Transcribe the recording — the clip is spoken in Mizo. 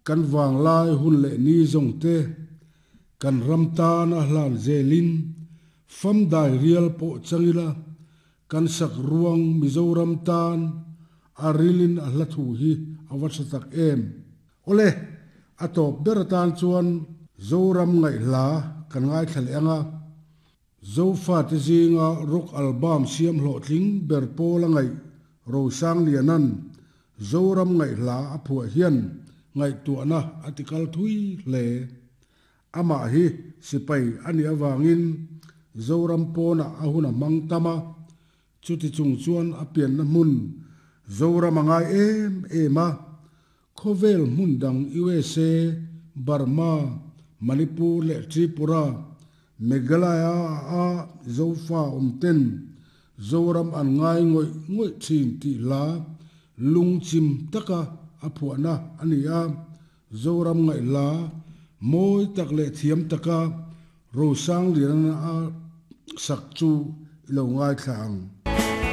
Kan vanglai hun leh ni zawng te kan ram tana hlan zelin fam dai rial pawh chang ila, kan sak ruang Mizoram tan a rilin a hla thu hi a va tha tak em. Awle, a tawp ber atan chuan Zoram ngaihhla kan ngaithla leh ang a. Zofate zinga rock album siam hlawhtling ber pawl a ngaih Rosangliana'n Zoram ngaihhla a phuah hian ngaihtuahna a tikal thui hle. Amah hi sipai a nih avangin Zoram pawnah a hun a hmang tam a, chuti chung chuan a pianna hmun Zoram a ngai em em a, Khawvel hmun dang USA, Burma, Manipur leh Tripura, Meghalaya a Zofa awm ten Zoram an ngai ngawih ngawih thin tih hla lungchim taka a phuahna a ni a, Zoram ngaih hla mawi tak leh thiam taka Rosangliana a sak chu i lo ngaithla ang.